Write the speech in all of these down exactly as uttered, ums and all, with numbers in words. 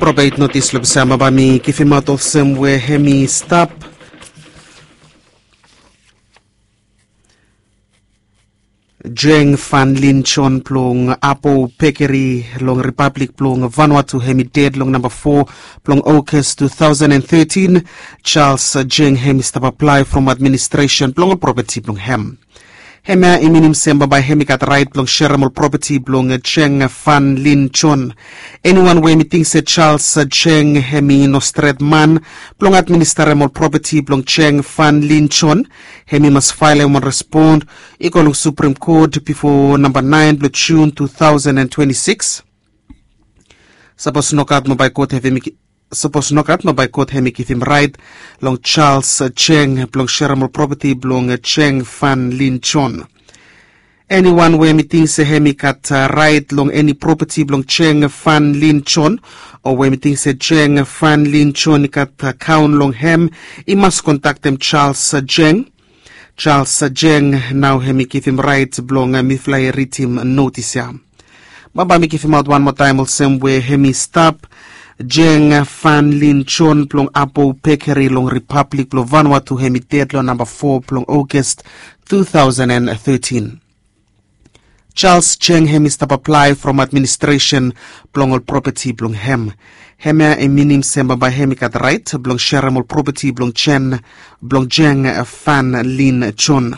Probeit notis long pesa ma bai mi givimaot olsem we hem i stap. Jeng Van Lin John blong Apo Pekeri long Ripablik blong Vanuatu hem i ded long namba fo blong August two thousand and thirteen. Charles Jeng hem i stap aplae from administresen blong ol propeti blong hem. Hemia i minim se bambae hem i gat rait blong serem ol propeti blong Jeng Van Lin John. Eniwan we hem i ting se Charles Jeng hem i no stret man blong administarem ol propeti blong Jeng Van Lin John, hem i mas faelem wan respon i go long Supreme Court bifo namba naen blong Jun two thousand and twenty-six. Sapos nogat mo bai kot hem i sapos nogat mo bai kot hem i givim rait long Charles Jeng blong serem ol propeti blong Jeng Van Lin John. Eniwan we hem i ting se hem i gat rait long eni propeti blong Jeng Van Lin John, o we hem i ting se Jeng Van Lin John i gat akaon long hem, i mas kontaktem Charles Jeng. Charles Jeng nao hem i givim rait blong mifala i ridim notis ya. Bambae mi givimaot wan moa taem olsem we hem i stap. Jeng Van Lin John blong Apo Pekeri long Ripablik blong Vanuatu hem i ded long namba fo blong August two thousand and thirteen. Charles Jeng hem i stap aplae from administresen blong ol propeti blong hem. Hemia i minim se bambae hem i gat rait blong serem ol propeti blong Jeng blong Jeng Van Lin John.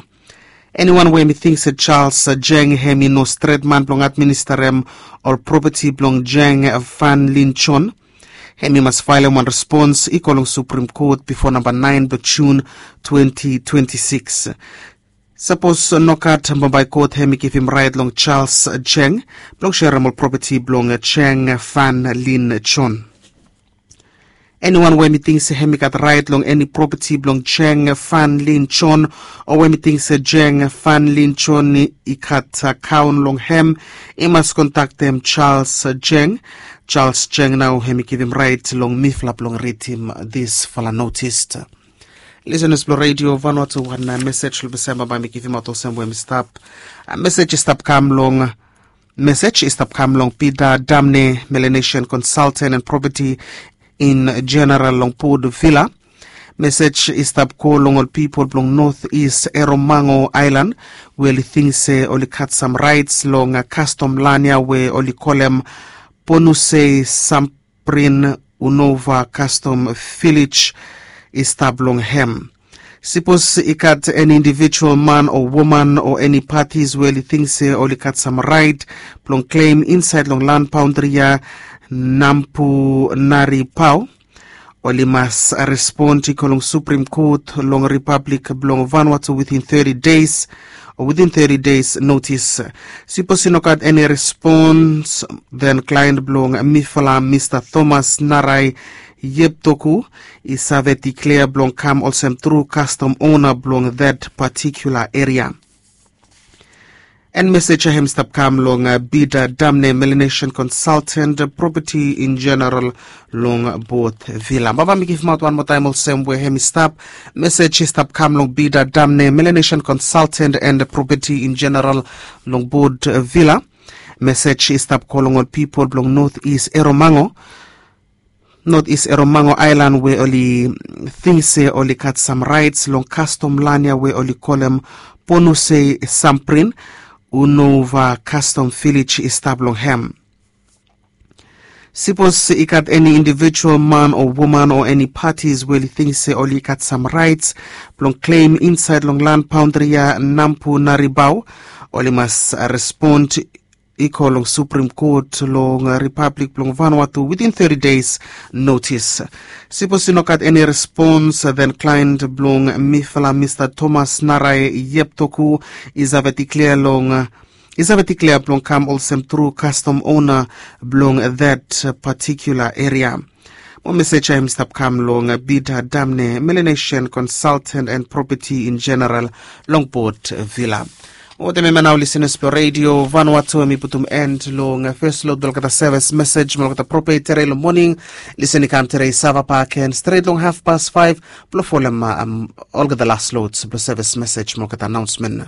Eniwan we hem i ting se Charles Jeng hem i no stret man blong administarem ol propeti blong Jeng Van Lin John, hem i mas faelem wan respons i go long Supreme Court bifo namba naen blong Jun twenty twenty-six. Sapos nogat bambae kot hem i givim rait long Charles Jeng blong serem ol propeti blong Jeng Van Lin John. Eniwan we hem i ting se hem i gat rait long eni propeti blong Jeng Van Lin John, o we hem i ting se Jeng Van Lin John i gat akaon long hem, i mas kontaktem Charles Jeng. Charles Jeng nao hem i givim rait long mifala blong ridim disfala notis. Lisenas blong Redio Vanuatu, wan mesej long pesa bambae mi givimaot olsem we hem i stap. Mesej i stap kam long mesej i stap kam long Peter Damne, Melanesian Consultant and Property in General long Port Vila. Mesej i stap go long ol pipol blong North East Eromango Aelan we oli ting se oli gat sam raets long kastom lan ya we oli kolem Ponusei Samprin Unova Kastom Vilej i stap long hem. Sipos i gat eni indivijual man o woman o eni patis we oli ting se oli gat sam raet blong klem insaed long lan baondri ya, Nampunari Pao, oli mas respond i go long Supreme Court long Ripablik blong Vanuatu within thirty days o within thirty days notis. Sipos i no gat eni respons, then client blong mifala Mista Thomas Narai Yeptoku i save diklea blong kam olsem tru kastom ona blong that particular area. And mesej ya hem i stap kam long Peter Damne, Melanesian Consultant, Property in General long Port Vila. Baba mi givim aot wan moa taem olsem we hem i stap. Mesej i stap kam long Peter Damne, Melanesian Consultant and Property in General long Port Vila. Mesej i stap go long ol pipol blong North East Eromango, North East Eromango Aelan we oli ting se oli gat sam raets long kastom lan ya we oli kolem Ponusei Samprin Unova Kastom Vilej i stap long hem. Sipos i gat eni indivijual man o woman o eni patis we oli ting se oli gat sam raets blong klem insaed long lan baondri ya Nampunari Pao, oli mas respond i go long Supreme Court long Ripablik blong Vanuatu within thirty days notis. Sipos i no gat eni respons, then client blong mifala Mista Thomas Narai Yeptoku i save diklea long i save diklea blong kam olsem tru kastom ona blong that particular area. Mo mesej ya hem i stap kam long Peter Damne, Melanesian Consultant and Property in General long Port Vila. Mo wetem hemia nao lisenas blong Redio Vanuatu, hem i putum end long fes lod blong olgeta sevis mesej mo olgeta program tere long moning. Lisen i kam tere i save bak gen stret long hafpas faef blong folem olgeta las lods blong sevis mesej mo olgeta anaonsmen.